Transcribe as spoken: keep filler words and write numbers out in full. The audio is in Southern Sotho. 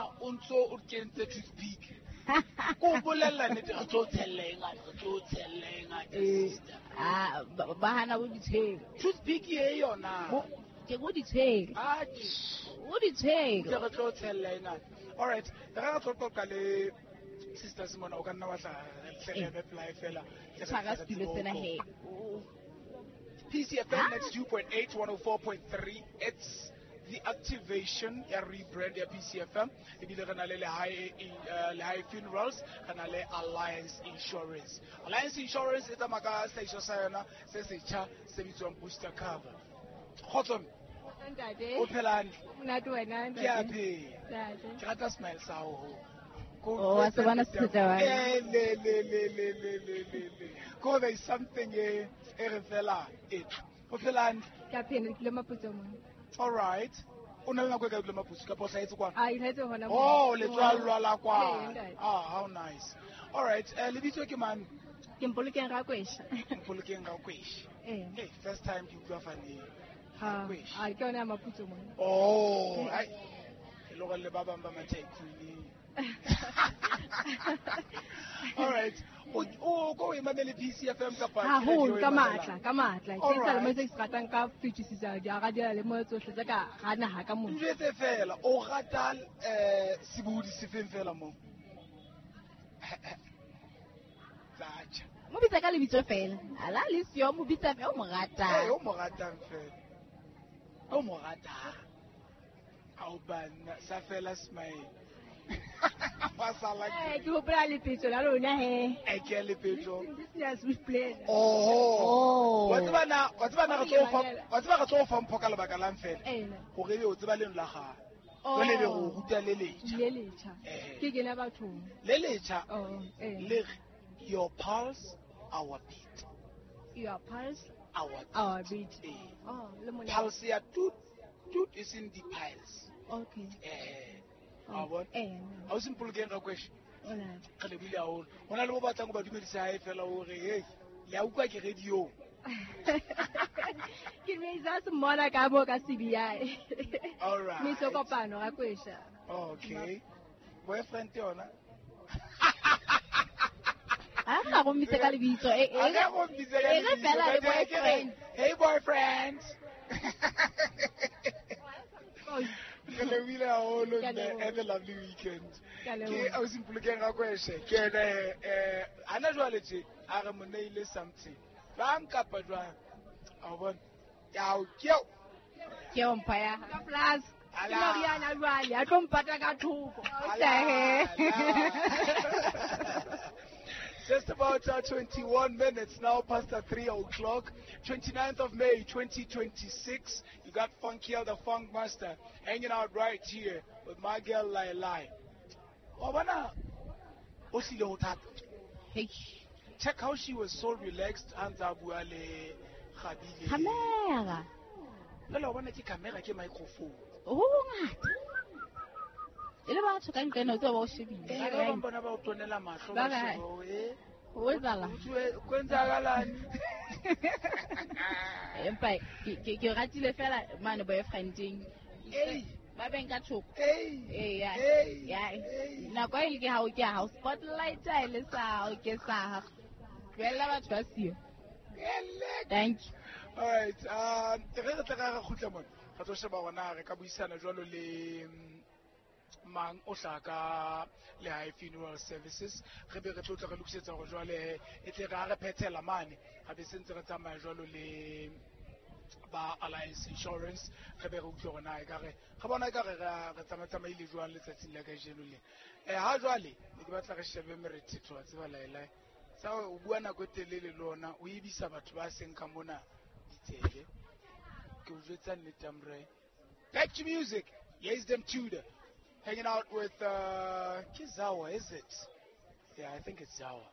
bona o ntso o kentse toothpick. Ko bolella nnete re tlo tshella e ngata, re tlo tshella e ngata sister. Ah, ba hana bo ditshelo. Toothpick e yona. Ke go ditshelo. Ah, o ditshelo. Re tlo tshella e ngata. All right, re re tlo qoqa le sister Simona o ka nna wa tla tlelebe play fela. Tshwara setulo sena he. P C F M ninety-two point eight, one oh four point three. It's the activation ya rebrand ya P C F M. Ebile re na le Lehae Lehae Funerals, re na le Alliance Insurance. Alliance Insurance e tsamaya ka sehlahiswa sa yona se setjha se bitswang Booster Cover. Kgotso ntate. O phela hantle? Monate wena ntate. Ke a phela. Ke rata smile sa hao. Oh, wa se bona setjha wa. Eh le le le le le le le. Ko there is something e e re fela e. O phela hantle? Ke a phela, ke le Maputso mona. All right. O na le nako e kae o dula Maputso kapa o hlahetse kwana? Ah, e hlahetse hona mo. Oh, le tswallwa la kwana. Ah, how nice. All right, eh lebitso ke mang? Ke Mpolokeng Rakwesha. Mpolokeng Rakwesha. Eh. Hey, first time ke utlwa fane. Ha. Ah, ke yona ya Maputso mona. Oh, ai. Ke le gore le ba bang ba ma-tycoon. All right. O o ko e mamele P C F M kapa haholo ka matla, ka matla. Ke sa le mo se ratang ka fetisisa di radio le mo tsohle tsa ka ga naha ka mona. Njetse fela o rata eh sebohodi se feng fela mo. Tsacha. Mo bitsa ka lebitso fela. Ala le sio mo bitsa fe o mo ratang. Eh o mo ratang fela. O mo ratang. Ao bana sa fela smile. Eh, ke hopola lepetso la lona he. Eh, ke lepetso. This is play. Oh. Wa tseba na, wa tseba na re tlo fa, wa tseba re tlo fa mpho ka lebaka lang fela. Eh. Hore o tseba leno la gago. Jwale be go ruta le letjha. Le letjha. Ke kena bathong. Le letjha. Oh, eh. Le your pulse, our beat. Your pulse, our beat. Our beat. Eh. Oh, le mona. Pulse ya tut tut is in the piles. Okay. Eh. A bona? Eh. Ha o Mpolokeng Rakwesha. Hola. Re lebile haholo. Ho na le bo batlang ho ba dumedisa hae fela hore hey, le a utlwa ke radio. Ke dumedisa se mmona ka mo ka C B I. All right. Mitso kopano Rakwesha. Okay. Boyfriend yona. A ga go mmitse ka lebitso e e. A ga go mmitse ka E re fela le boyfriend. Hey boyfriend. Re lebile haholo mme, have a lovely weekend. Ke ausi Mpolokeng Rakwesha, ke ene eh hana jwale tje a re mo neile something. Jwang kapa jwang? A o bona? Ke ke Ke o mpha ya. Ka plus. Ke moriana jwale, a tlo mpata ka thoko. Just about uh, twenty-one minutes now past the three o'clock, twenty-ninth of May, twenty twenty-six. You got Funky the Funk Master hanging out right here with my girl Lai Lai. Hey. Check how she was so relaxed. Anza bua le Khabile. Camera. Lala bona ke camera ke microphone. Oh, ngata. E le batho ka ntle no tse ba o shebile. Eh, ba bang bona ba o tonela mahlo ba shebo, eh. O etsala. Kwenzakalani? Empa ke ke ratile fela mane boyfriending. Ei, ba beng ka thoko. Ei. Eh ya. Ya. Nako e ke ha o ke ha o spotlight e le sa o ke sa. Tlohella batho ba siyo. Thank you. All right, um re re tla re kgutla mona. Re tlo sheba hore re ka buisana jwalo le mang o hlaka Lehae Funeral Services. Re be re tlo tla re lokisetsa hore jwale e tle re ha re phethela mane ha be sentse re tsamaya jwalo le ba Alliance Insurance, re be re utlwe hore na ekare re bona ekare re tsamatsamaile jwang letsatsing la kajeno le. Eh ha jwale ne ke batla re shebe merethetho wa tseba Laelae. Sa o bua nako e telele le ona o ebisa batho ba seng ka mona ditsebe. Ke o jwetsa nnete amre. Back to music. Yes, them Tudor. Hanging out with uh, Kizawa, is it? Yeah, I think it's Zawa.